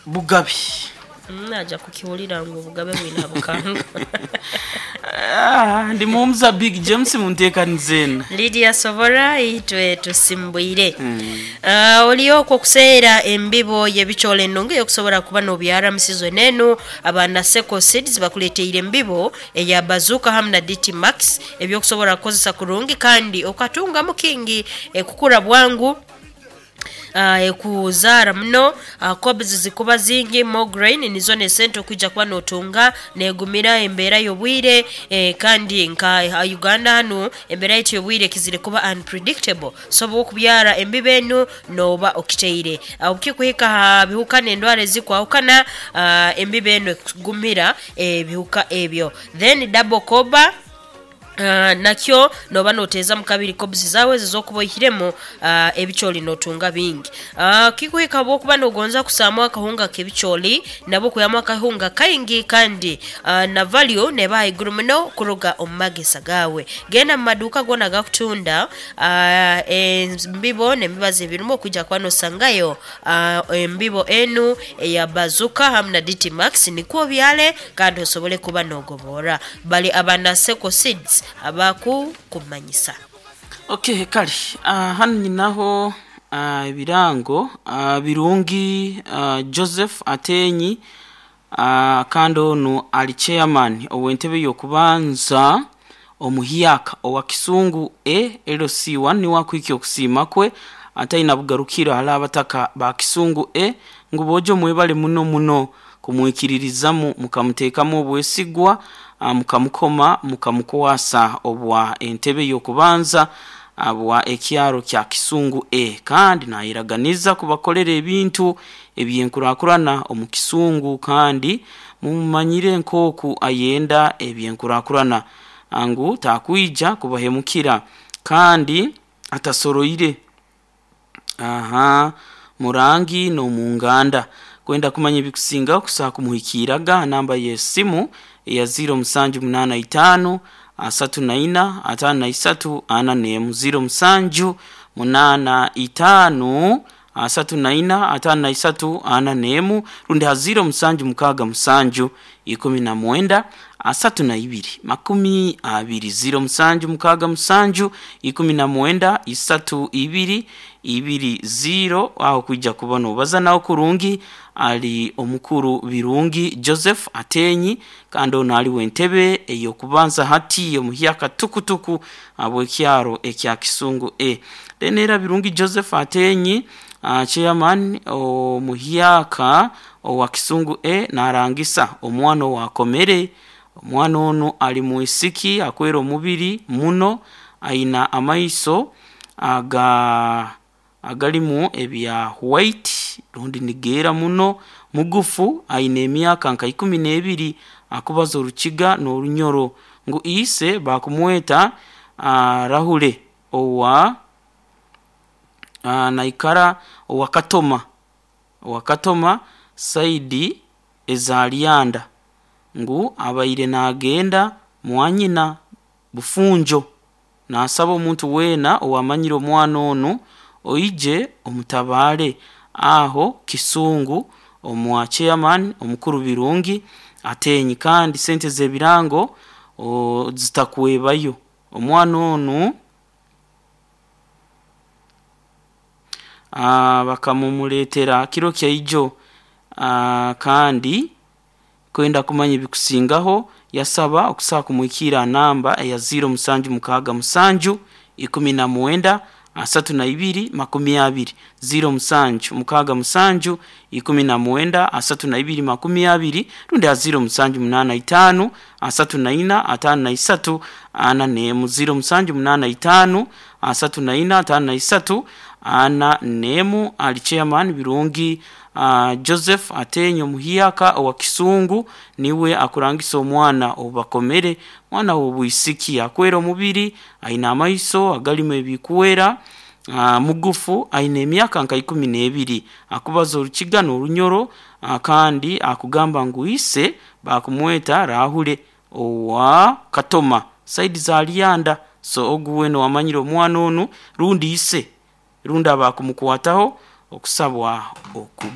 Bugabi. Naja kukiwulira ngu obugabe bwina bukanga. Ah, ndi mumuza Big James munteekanize. Lydia Sobora itwe tusimbwire. Oliyo okuseera embibo y'ebicoole ennungi eyokusobola kuba n'obyara mu season enu. Abana Seco Seeds bakuleteire embibo eya Bazooka hamu na DT Max ebyokusobola kukozesa kurungi kandi okatungamu kingi, ekukura bwangu, ekuzaara muno, cobs zikuba zingi, more grain nizo n'esente okwija kuba n'otunga, negumira embeera y'obwire, kandi nka Uganda hanu embeera yaitu y'obwire ekizire kuba unpredictable, so obwokubyara embibo enu nooba okiteire. Obukikuhika aha bihuka n'endwara ezikwahukana, embibo enu ekugumira ebihuka ebyo. Then double coba nakyo nooba noteezamu kabiri cobs zaawe ezo ez'okuba oihiremu ebicooli nootunga bingi. Kikuhika obwokuba noogonza kusaamu akahunga k'ebicooli, nabwo okwihamu akahunga kaingi kandi na value neeba haiguru muno kuruga omu magesa gaawe. Genda mu maduuka goona agakutunda embibo n'emibazi ebirimu okwija kuba noosangayo embibo enu eya Bazooka hamu na DT Max nikwo obyale kandi osobole kuba noogoboora. Bali aba Naseko Seeds abakukumanyisa. Okay, kale hanu nyinaho ebirango Birungi Joseph Atenyi, kandi onu ali chairman ow'entebe y'okubanza omuhyaka owa Kisungu A LC1, niwe akuhikya okusiima kwe ataina bugarukiro hali abataka ba Kisungu A ngu boojo mwebale muno muno kumwikiririzamu mukamuteekamu obwesigwa, mukamukoma mukamukwasa obwa entebe y'okubanza bwa ekyaro kya Kisungu A, kandi naayeraganiza kubakolera ebintu eby'enkurakurana omu Kisungu, kandi mumumanyire nk'oku ayenda eby'enkurakurana ngu takwija kubahemukira kandi atasoroire aha murangi n'omunganda. Kwenda kumanya ebikusingaho kusobola kumuhikiiraga ha namba y'esimu eya 0785 34 53 41, 0785 34 53 41, rundi ha 0767 19 32 20, 0767 19 32 20. Aho kwija kuba noobaza nawe kurungi. Ali omukuru Birungi Joseph Atenyi, kandi onu ali w'entebe ey'okubanza hati omuhyaka tukutuku habw'ekyaro ekya Kisungu A. Then era Birungi Joseph Atenyi, chairman omuhyaka owa Kisungu A, naarangisa omwana owaakomere. Omwana onu ali mwisiki akwera omubiri muno, aina amaiso aga agalimu ebya white rundi nigeera muno, mugufu, aina emyaka nka ikumi n'ebiri, akubaza Orukiga n'Orunyoro, ngu ise baakumweta Rahure owa naikara owa Katoma, owa Katoma saidi eza Lyanda, ngu abaire naagenda mwanyina Bufunjo. Naasaba omuntu weena owamanyire omwana onu oije omutabaare aho Kisungu omwa chairman omukuru Birungi Atenyi, kandi sente z'ebirango zitakwebayo. Omwana onu bakamumuleetera kiro kyaijo, kandi kwenda kumanya ebikusingaho yasaba okusobola kumuhikiira ha namba eya 0767 19 32 20, 0767 19 32 20, rundi ha 0785 34 53 41, 0785 34 53 41. Ali chairman Birungi Joseph Atenyi omuhyaka owa Kisungu, niwe akurangisa omwana oubakomere, mwana w'obwisiki akwera omubiri, aina amaiso agalimu ebikwera, mugufu, aina emyaka nka ikumi n'ebiri, akubaza Orukiga n'Orunyoro, kandi akugamba ngu ise baakumweta Rahure owa Katoma saidi za Lyanda. So ogu weena owamanyire omwana onu rundi ise rundi abakumukwataho okusabwa oku.